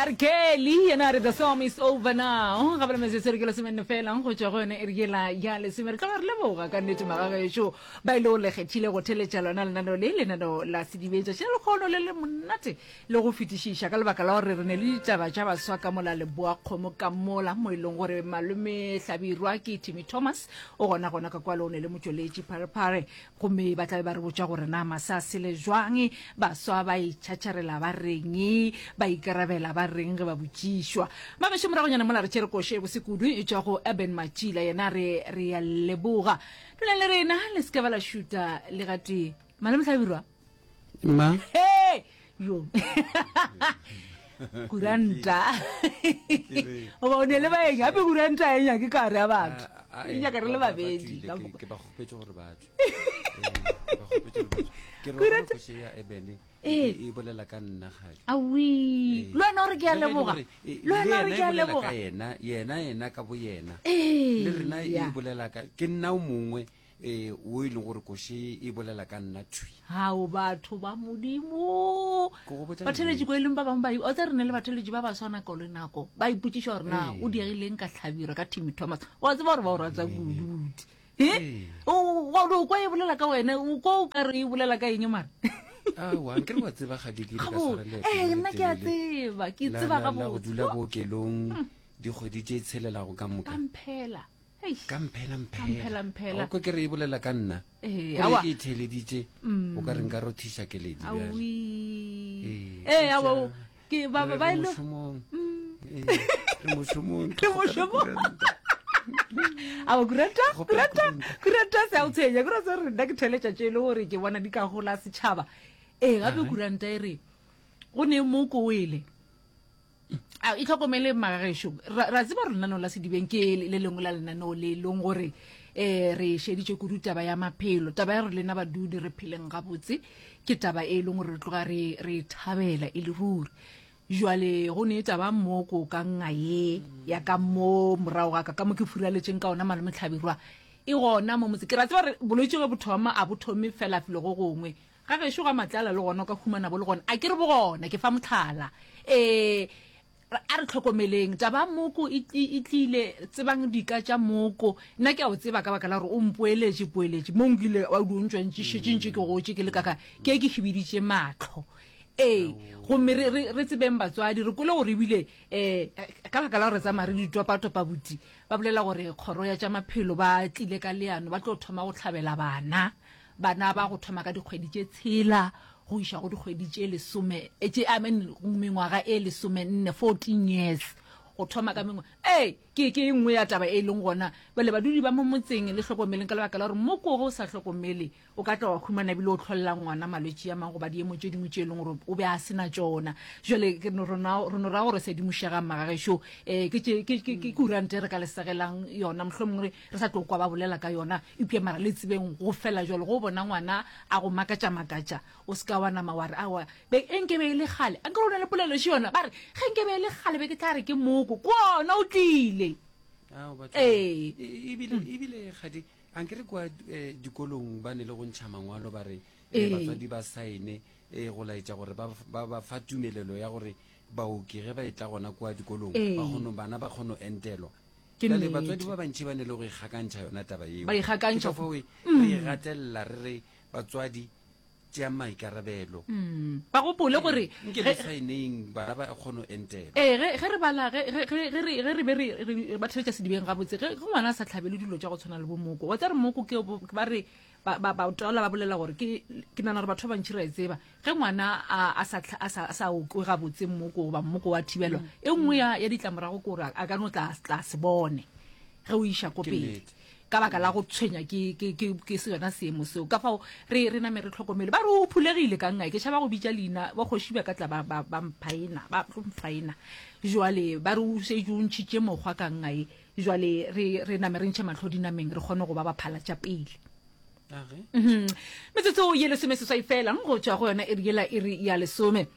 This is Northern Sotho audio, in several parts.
R. Kelly yena a re the song is over now. Ga bala metsotso re ke lesomenne fela go tšwa go yone e re yela ya lesome. Re tloga re leboga ka nnete magagešo ba ile go le kgethile go theletša lona lenaneo le lenaneo la sedibetša tša lekgono le le monate le go fetišiša ka lebaka la gore re ne le ditaba tša baswa ka mola leboa kgomo ka mola mo e leng gore malome Hlabirwa ke Timmy Thomas o gona gona ka kwalo o ne le motšweletši pharephare Gomme ba tla be ba re botša gore na masa a sele jwang, baswa ba itšhatšharela ba reng, ba ikarabela ba reng ge ba botšišwa. Magešo moragonyana mola re tšere koše e bose kudu e tšwa go Urban Matšila, yena re re ya leboga. Dulang le rena, le se ke ba la šuta le gatee. Malome Hlabirwa. Ma. Hey! Yo. Kuranta. Goba o ne le baeng, gape kuranta e nyake ka gare ya batho. Ah, ah, E nyaka re le ba- ba babedi. tswile, Ka ke- moka. ke ba kgopetše gore ba tswe. Eh, ke ba kgopetše gore ba tswe. Ke re Kuranta- gore koše ya Ebene Eh. e e bolela ka nna gadi. Awi. Eh. Le wena o re ke a Le ge e le leboga. gore, eh, Le wena o re yena ke e a bolela leboga. ka yena yena yena ka bo yena Ee, le rena e ya. bolela ka ke nna o mongwe eh o e leng gore koše e bolela ka nna thwi. Hao batho ba Modimo. Ke go botša Batheeletši nnete. ko e leng ba bangwe ba o tsa re ne le batheeletši ba baswa nako le nako ba ipotšiša gore na Ee. o diegileng ka hlabirwa ka Timmy Thomas. Wa tseba gore ba o rata kudu buti. He? Ee. O o kwa e bolela ka wena, o kwa o ka re e bolela ka eng mara? Aowa, nkere wa tseba ga di ke ka Gabo, tshwara leeto ee le nna ke a letelele tseba, ke la tseba la la go gabotse. dula bookelong dikgwedi tše tshelelago ka moka. Ka mphela. Eish. Ka mphela Ka mphela. mphela mphela. O kwa ke re e bolela ka nna. Ee, Gore aowa. ke e theeleditše, o ka re nka rothiša keledi bjale. Aowi. Ee, Ee, aowa, eupša ke ba re ba re e le mošomong. Ee, re mošomong. Re mošomong. Aowa, kuranta, Kgopela kuranta, kuranta. kuranta se a o tshwenya. Kuranta se re nna ke theeletša tše e le gore ke bona di ka gola setšhaba. Ee, gape kuranta e re go ne moko o ele. A itlhokomele magagešo. Ra, ra tseba gore lenaneo la Sedibeng ke le lengwe la lenaneo le leng gore eh re šeditše kudu taba ya maphelo. Taba ya gore lena badudi re pheleng gabotse ke taba e leng gore re tloga re re e thabela e le ruri. Jwale go ne taba mo ko ka nga ye ya ka mo morago ga ka ka mo ke furaletšeng ka ona malome Hlabirwa e gona mo motse. Ke ra tseba gore bolwetši ge bo thoma a bo thome fela felo go gongwe. Ga gešo ga Matlala le gona o ka humana bo le gona. A ke re bo gona, ke fa mohlala. E, a re hlokomeleng. Taba ya moko e, e, e tlile, tsebang dika tša moko. Nna ke a o tseba ka baka la gore o mpoeletše, poeletše. Mo nkile wa o ntšwa ntše šetše ntše ke gotše ke le kaka, ke ke hibiditše mahlo. Ee, gomme re, re, re tsebeng batswadi, re kwele gore ebile, eh, ka baka la gore re tsamaya re di topa-topa buti, ba bolela gore kgoro ya tša maphelo ba tlile ka leano, ba tlo thoma go hlabela bana. Bana ba go thoma ka dikgwedi tše tshela go iša go dikgwedi tše lesome, eh, tše, I mean, mengwaga e lesomenne, 14 years, go thoma ka mengwaga. Ee, ke, ke e nngwe ya taba e leng gona. Bjale badudi ba mo motseng le hlokomeleng ka lebaka la gore moko ge o sa hlokomele o ka tla wa humana ebile o hlolela ngwana malwetši a mangwe goba diemo tše dingwe tše e leng gore o be a se na tšona. Jwale ke no, rona, re no ra gore sedimošegang magagešo, eh, ke tše, ke, ke, ke kurante re ka le segelang yona, mohlomongwe re, re sa tlo kwa ba bolela ka yona eupša mara le tsebeng go fela jalo go bona ngwana a go makatša makatša o se ka wa nama wa re awa be e nke be e le kgale a nkere o na le polelo še yona ba re ge nke be e le kgale be ke tla re ke moko ke ona o tlile ee ebile ebile gadi a nkere kwa eh, dikolong ba ne le go ntšha mangwalo ba re eh, batswadi ba saene eh, go laetša gore ba ba fa tumelelo ya gore baoki ge ba e tla gona kwa dikolong ba kgono bana ba kgono entelwa Ke Bjale nnete. batswadi ba bantši ba ne le go ikgakantšha yona taba yeo. Ba ikgakantšha Ke ka fao e- re e gatelela re re batswadi tšeang maikarabelo. Ba gopole gore Nke le saeneng bana ba kgone go entelwa. Ee, ge, ge re bala, ge, ge, ge, ge re, ge re be re, re ba theletša sedibeng gabotse, ge, ge ngwana a sa hlabele dilo tša go tshwana le bo moko, wa tseba re moko ke, ba re, ba, ba, ba taola ba bolela gore ke, ke nagana gore batho ba bantši ra e tseba, ge ngwana a, a sa, a sa, a sa okwe gabotse mmoko goba mmoko wa thibelwa, e nngwe ya, ya ditlamorago ke gore a ka no tla, tla se bone ge o iša ko Ke pele nnete. ka baka la go tshwenya ke, ke, ke, ke se yona seemo seo. Ka fao re, re name re hlokomele. Ba re o phulegile ka nna, ke tšhaba go bitša leina, ba kgoši ba ka tla ba, ba, ba mphaena, ba tlo mphaena. Jwale ba re o šetše o ntšhitše mokgwa ka nna e. Jwale re, re name re ntšhe mahlo dinameng re kgone go ba ba phala tša pele. Mhm. Metsotso ye lesomeseswai fela go tšwa go yona iri yela iri ya lesome.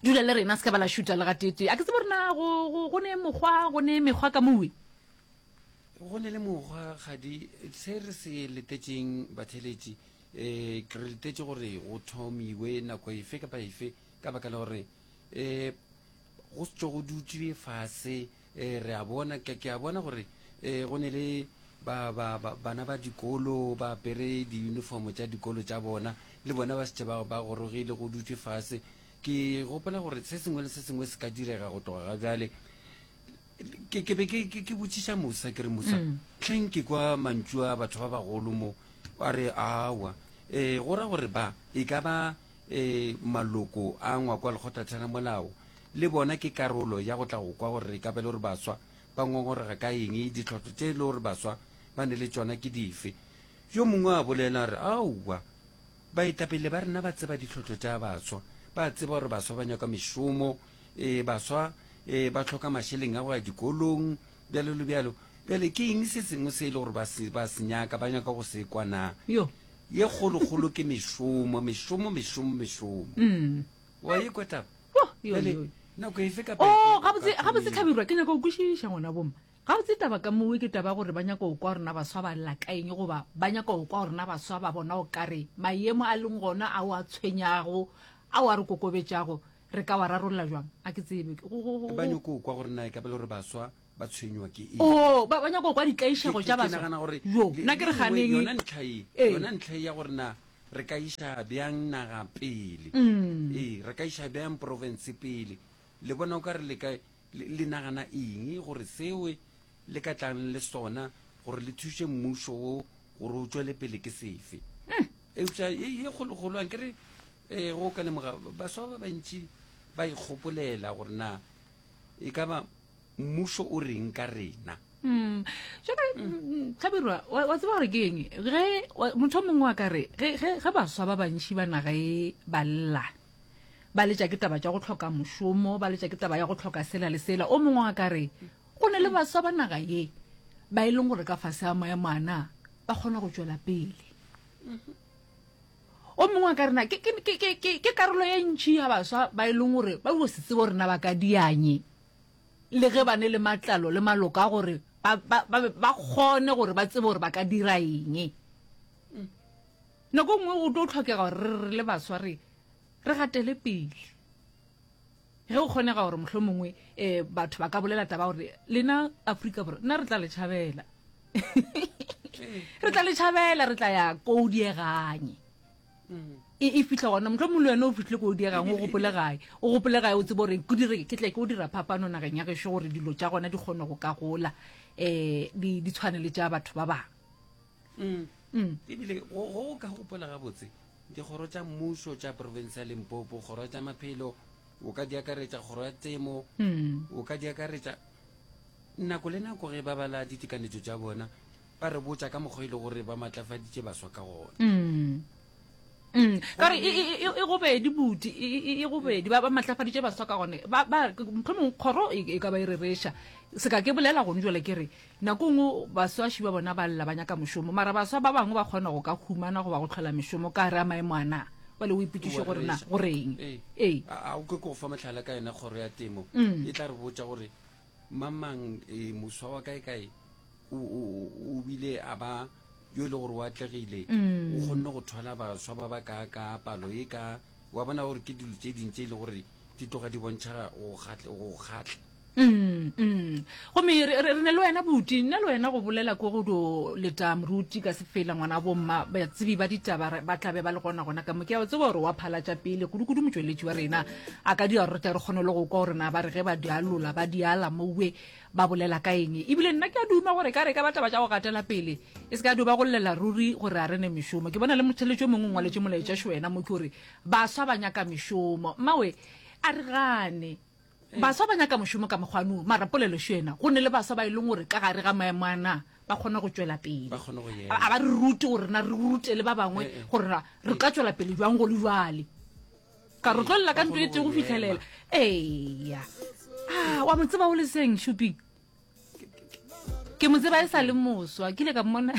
Dula le rena se ka ba la šuta le gatete. A ke tsebe gore na go, go, go ne mokgwa, go ne mekgwa ka mowe. Go ne le mokgwa gadi se re se letetšeng batheletši eh re letetše gore go thomiwe nako efe kapa efe ka baka la gore eh. Go se tšo go dutšwe fase, e, re a bona, ke, ke a bona gore e, go ne le ba, ba, ba, bana ba dikolo ba apere diyunifomo tša dikolo tša bona, le bona ba šetše ba, ba gorogile, go dutšwe fase. Ke gopola gore se sengwe le se sengwe se ka direga go tloga ga bjale. Ke, ke be ke, ke, ke botšiša Musa, ke re, Musa, mm. hleng ke kwa mantšu a batho ba bagolo mo, a re, awa, e, go ra gore ba, e ka ba, e, maloko a ngwako wa lekgotlatheramolao, le bona ke karolo ya go tla go kwa gore e ka ba le gore baswa ba ngongorega ka eng, ditlhotlo tše e le gore baswa ba ne le tšona ke dife. Yo mongwe a bolela a re, Aowa, baetapele ba rena ba tseba ditlhotlo tša baswa, ba tseba gore baswa ba nyaka mešomo, e, baswa e, ba hloka mašeleng a go ya dikolong, bjalo le bjalo. Bjale ke eng se sengwe se e le gore ba se, ba se nyaka, ba nyaka go se kwa na? Yo. Ye kgolokgolo ke mešomo, mešomo, mešomo, mešomo. Mm. Wa e kwa taba? Oh, yo, Bjale, yo. nako efe kapa Oh, efe o gabotse, ka gabotse thomile. Hlabirwa, ke nyaka go kwešiša ngwana bomma. Gabotse taba ka mowe ke taba ya gore ba nyaka go kwa gore na baswa ba lla ka eng goba ba nyaka go kwa gore na baswa ba bona o kare maemo a leng gona ao a tshwenyago, ao a re kokobetšago, re ka wa rarolla jwang? A ke tsebe. Go, go, go, Ba go. nyako go kwa gore na e ka ba le gore baswa ba tshwenywa ke eng. Oh, ba, ba nyaka go kwa Ke, ditlaišego ke, tša ke baswa. nagana gore Jo, le, nna ke le re nngwe, ganeng. yona ntlha ye, Ee. yona ntlha ye ya gore na re ka iša bjang naga pele. Mm. Ee, re ka iša bjang province pele. Le bona o ka re le ka, le, le nagana eng gore seo le ka tlang le sona gore le thuše mmušo wo gore o tšwele pele ke sefe? Mm. Eupša ye, ye kgolokgolo, ankere, ee, go ka lemoga baswa ba bantši ba ikgopolela gore na e ka ba mmušo o reng ka rena. Mm. Jwale mm. Hlabirwa, wa, wa tseba gore ke eng ge motho o mongwe wa ka re ge, ge, ge baswa ba bantši ba naga e ba lla ba letša ke taba tša go hloka mošomo, ba letša ke taba ya go hloka sela le sela, o mongwe wa ka re go ne le baswa ba naga ye ba e leng gore ka fase a maemo ana ba kgona go tšwela pele. O mongwe wa ka rena ke, ke, ke, ke, ke, ke karolo ye ntši ya baswa ba e leng gore ba go se tsebe gore na ba ka dianye le ge ba ne le matlalo le maloko a gore ba, ba, ba, ba kgone gore ba tsebe gore ba ka dira eng. Nako nngwe go tlo tlhokega gore re re le baswa re re gatele pele. Ge go kgonega gore mohlomongwe um batho ba ka bolela taba gore lena Afrika Borwa nna re tla le tšhabela. Re tla le tšhabela re tla ya ko o dieganye. E, e fihla gona mohlomongwe le wena o fihlile ko o diegang o gopole gae o gopole gae o tsebe gore ke dire ke tle ke o dira phapano nageng ya gešo gore dilo tša gona di kgone go ka gola um di di tshwane le tša batho ba bangwe. Mm. Mm. Ebile go go ka gopola gabotse dikgoro tša mmušo tša province ya Limpopo, kgoro ya tša maphelo, o ka di akaretša kgoro ya temo, Mm. o ka di akaretša nako le nako ge ba bala ditekanetšo tša bona ba re botša ka mokgwa e le gore ba matlafaditše baswa ka gona. Mm. Mm. Ka gore e, e, e, e gobedi buti e, e, e gobedi ba ba matlafaditše baswa ka gone ba ba mohlomongwe kgoro e, e ka ba e rereša se ka ke bolela gone jwale ke re nako nngwe baswaši ba bona ba lla ba nyaka mošomo mara baswa ba bangwe ba kgona go ka humana goba go hlola mešomo ka gare a maemo a na bale o ipotšiše Wa gore na rereša. go reng Ee. ee A a o ke go fa mohlala ka yona kgoro ya temo Mm. e tla re botša gore Mamang, e, moswa wa kae-kae o, o, o bile a ba yo e le gore o atlegile, Mm. o kgonne go thwala baswa ba ba kaakaa palo e ka, wa bona gore ke dilo tše ding tše e le gore di tloga di bontšha go kgatla, go kgatla. Mm, mm. Gomme re, re, re ne le wena buti, nna le wena go bolela ko go do leta moruti ka sefela ngwana bomma, batsebi ba ditaba re- ba tla be ba le gona gona ka mo. Ke a tseba gore wa phala tša pele, kudu-kudu motšweletši wa rena a ka dira gore re tle re kgone le go kwa gore na ba re ge ba di alola ba di ala mowe ba bolela ka eng. Ebile nna ke a duma gore ka re ka ba taba tša go gatela pele e se ka dio ba go llela ruri gore a re ne mešomo. Ke bona le motheletši o mongwe o ngwaletše molaetša šo wena mo ke gore baswa ba nyaka mešomo. Mmawe a re gane baswa ba nyaka mošomo ka mokgwa no, mara polelo šo yena go ne le baswa ba e leng gore ka gare ga maemo a na ba kgona go tšwela pele. Ba kgone go ema. A ba re rute gore na re rute le ba bangwe Eh, eh. gore na re ka tšwela pele jwang go le jwale. Ka re tlo lla ka Ba ntlo e kgone tee go go fihlelela. ema. Eya. Ah, wa mo tseba o le seng Shupi? Ke mo tseba e sa le moswa, ke ile ka mmona.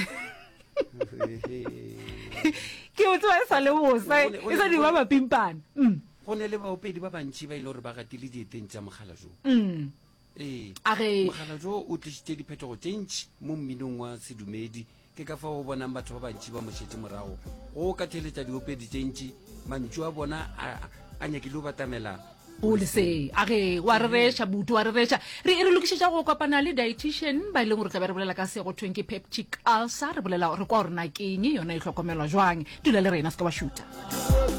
Ke mo tseba e sa le moswa, e sa di ba mapimpana. Mm. Go ne le baopedi ba bantši ba e le gore ba gatile dieteng tša mogala jo. Mm. Ee. A ge Mogala jo o tlišitše diphetogo tše ntši mo mminong wa sedumedi. Ke ka fao o bonang batho ba bantši ba mo šetše morago. Go ka theeletša diopedi tše ntši, mantšu a bona a, a nyakile go batamela O le se a ge wa rereša buti wa rereša. Re re lokišetša go kopana le dietitian ba e leng gore tla be re bolela ka se go thweng ke peptic ulcer, re bolela re kwa gore na ke eng yona e hlokomelwa jwang. Dula le rena se ke wa šutha.